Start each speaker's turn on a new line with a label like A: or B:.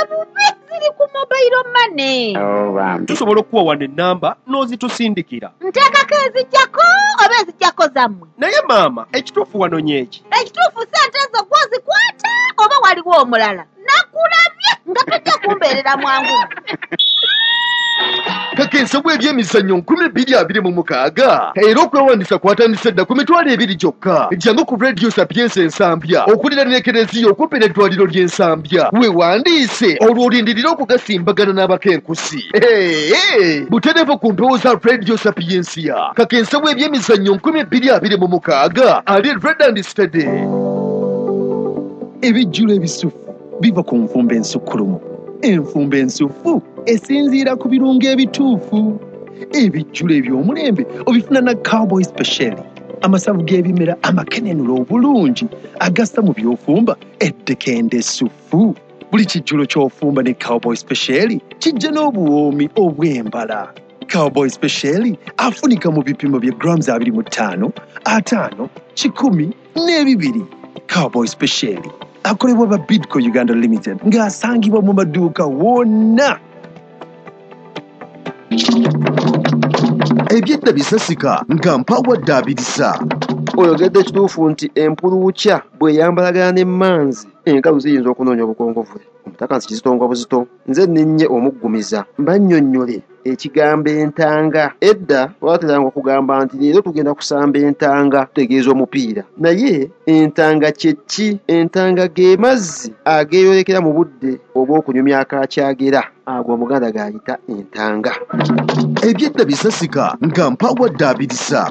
A: Bubi, ziri ku mobile money.
B: Tusobola okukuwa wano ennamba n'ozitusindikira.
A: Nteekako ezijjako oba ezijjako zammwe?
B: Naye maama, ekituufu wanonye eki?
A: Ekituufu ssente ezo gwozikwata oba waliwo omulala? Nakulabye nga tojja kumbeerera mwangu.
C: Kakensa bw'ebyemizannyo 2026 era okwewandiisa kwatandise dda ku 20,000 gyokka. Jangu ku Radio Sapientia Ensambya okuliraana Ekereziya okumpi n'eddwaliro ly'Ensambya, weewandiise olwo olindirire okugasimbagana n'abakenkusi. Butereevu ku mpewo za Radio Sapientia. Kakensa bw'ebyemizannyo 2026 ali red and steady.
D: Ebijjulo ebisufu biva ku nfumba ensukkulumu. Enfumba ensufu esinziira ku birungo ebituufu. Ebijjulo eby'omulembe obifuna na Cowboy Special, amasavu g'ebimera amakenenula obulungi agassa mu by'ofumba eddekende essufu. Buli kijjulo ky'ofumba ne Cowboy Special kijja n'obuwoomi obw'embala. Cowboy Special afunika mu bipimo bya grams 25, 50, 100 n'ebibiri. Cowboy Special akolebwa ba Bidco Uganda Limited ng'asangibwa mu maduuka wonna.
C: Ebyedda bisasika nga mpawadde abirisa.
E: Oyogedde ekituufu nti empuluukya bw'eyambalagana n'emmanzi, enkalu ziyinza okunoonya obukongovule. Omutaka nsi kizitongwa buzito. Nze nninnye omuggumiza mbannyonnyole ekigambo entanga. Edda twateranga okugamba nti leero tugenda kusamba entanga, tutegeeza omupiira. Naye entanga kye ki? Entanga ge mazzi ageeyolekera mu budde obw'okunyumya akakyagera. Ago Omuganda g'ayita entanga.
C: Ebyedda bisasika nga mpawadde abirisa.